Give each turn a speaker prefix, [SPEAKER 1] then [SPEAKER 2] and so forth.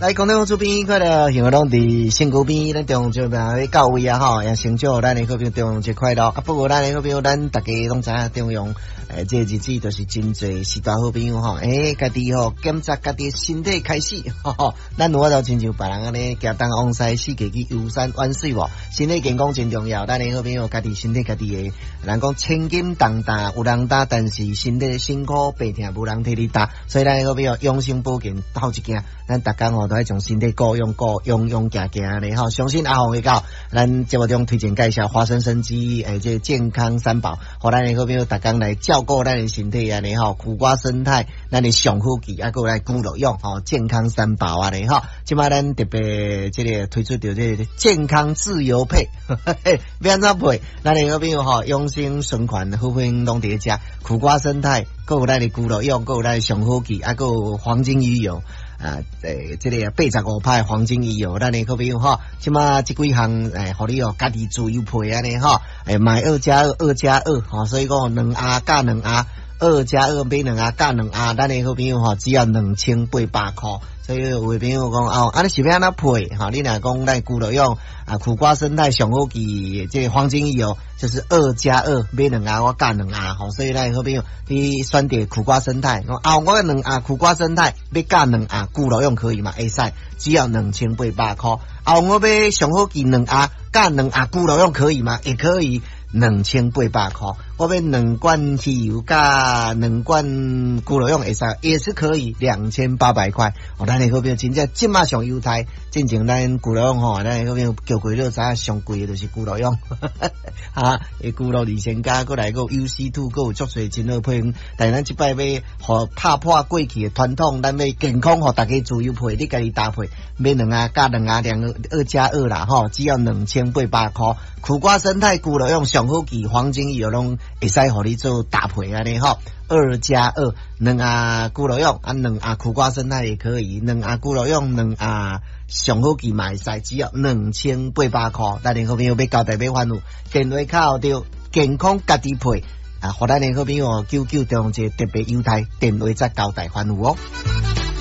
[SPEAKER 1] 來，空中主編快樂，幸福攏佇身軀邊，咱中秋節到位啊吼，也先祝咱的好朋友中秋節快樂。啊，不過咱的好朋友，咱大家攏知影中央，這個日子就是真濟序大好朋友吼，家己吼檢查家己身體開始，吼，咱有法度親像別人按呢，行東往西，四界去遊山玩水無？身體健康真重要，咱的好朋友家己身體家己的，人講千金重擔有人擔，但是身體辛苦病痛無人替你擔，所以咱的好朋友養生保健頭一件，咱逐工吼都愛將身體顧養顧勇勇行行咧吼，相信阿鳳會到咱節目中推薦介紹華生生機這個健康三寶，予咱的好朋友逐工來照顧咱的身體按呢吼，苦瓜生態，咱的上好劑，啊，閣來骨肉用吼，健康三寶按呢吼，這擺咱特別這個推出著這個健康自由配，欲按怎配？咱的好朋友吼，養生循環好朋友攏佇咧遮，苦瓜生態，閣有咱的骨肉用，閣有咱的上好劑，啊，閣有黃金魚油。啊，這個85趴黃金魚油，咱的好朋友吼，這馬這幾項予你哦，家己自由配按呢吼，買二加二，二加二，吼，所以講兩盒加兩盒，二加二買兩盒加兩盒，咱的好朋友吼，只要2800箍。所以有的朋友講哦，啊你是欲按怎配？吼，你若講咱骨肉用啊，苦瓜生態上好劑，這個黃金魚油就是二加二買兩盒我加兩盒，吼，所以咱好朋友你選擇苦瓜生態，啊，我兩盒苦瓜生態欲加兩盒骨肉用可以嗎？會使，只要2800箍。啊，我欲上好劑兩盒加兩盒骨肉用可以嗎？也可以。2800箍，我欲兩罐魚油加兩罐骨肉用會使，也是可以2800塊。哦，咱的好朋友真正這馬上優待，進前咱骨肉用吼，咱的好朋友叫過你就知影上貴的就是骨肉用，哈，骨肉二仙加閣來閣有 UC two，閣有足濟真好配方。但是咱這擺欲予打破過去的傳統，咱欲健康予大家自由配，你家己搭配，買兩盒加兩盒，兩個二加二啦吼，只要2800箍。苦瓜生態骨肉用上好劑黃金魚油攏會使予你做搭配按呢吼，二加二兩盒骨肉用啊，兩盒苦瓜生態也可以，兩盒骨肉用兩盒上好劑嘛會使，只要2800箍。咱的好朋友欲交代欲煩惱，電話敲著健康家己配啊，予咱的好朋友九九中一個特別優待，電話再交代煩惱哦。